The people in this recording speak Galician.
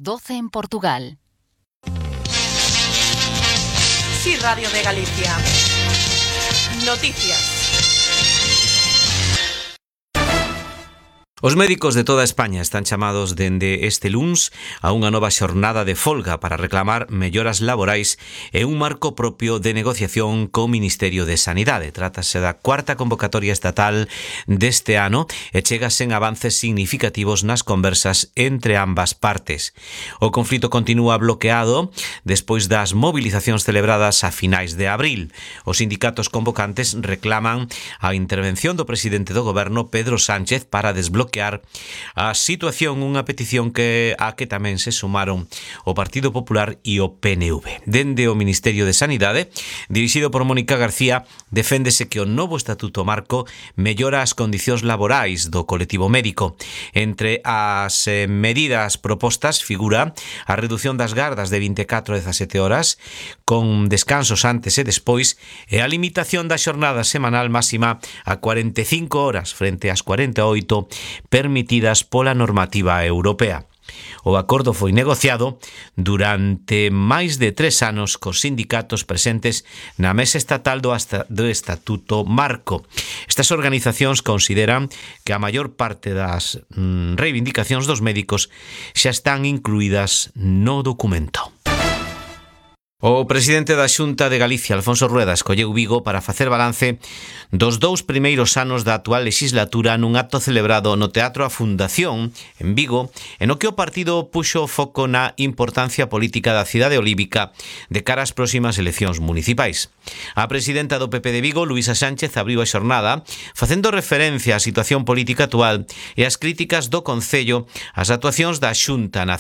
12 en Portugal. Sí, Radio de Galicia. Noticias. Os médicos de toda España están chamados dende este luns a unha nova xornada de folga para reclamar melloras laborais e un marco propio de negociación co Ministerio de Sanidade. Trátase da cuarta convocatoria estatal deste ano e chega sen avances significativos nas conversas entre ambas partes. O conflito continúa bloqueado despois das movilizacións celebradas a finais de abril. Os sindicatos convocantes reclaman a intervención do presidente do goberno, Pedro Sánchez, para desbloquear a situación, unha petición a que tamén se sumaron o Partido Popular e o PNV. Dende o Ministerio de Sanidade, dirixido por Mónica García, deféndese que o novo Estatuto Marco mellora as condicións laborais do colectivo médico. Entre as medidas propostas figura a reducción das gardas de 24 a 17 horas, con descansos antes e despois, e a limitación da xornada semanal máxima a 45 horas frente ás 48 permitidas pola normativa europea. O acordo foi negociado durante máis de 3 anos cos sindicatos presentes na mesa estatal do Estatuto Marco. Estas organizacións consideran que a maior parte das reivindicacións dos médicos xa están incluídas no documento. O presidente da Xunta de Galicia, Alfonso Rueda, escolleu Vigo para facer balance dos 2 primeiros anos da actual legislatura nun acto celebrado no Teatro A Fundación, en Vigo, en o que o partido puxo o foco na importancia política da cidade olívica de cara ás próximas eleccións municipais. A presidenta do PP de Vigo, Luísa Sánchez, abriu a xornada facendo referencia á situación política actual e ás críticas do Concello ás actuacións da Xunta na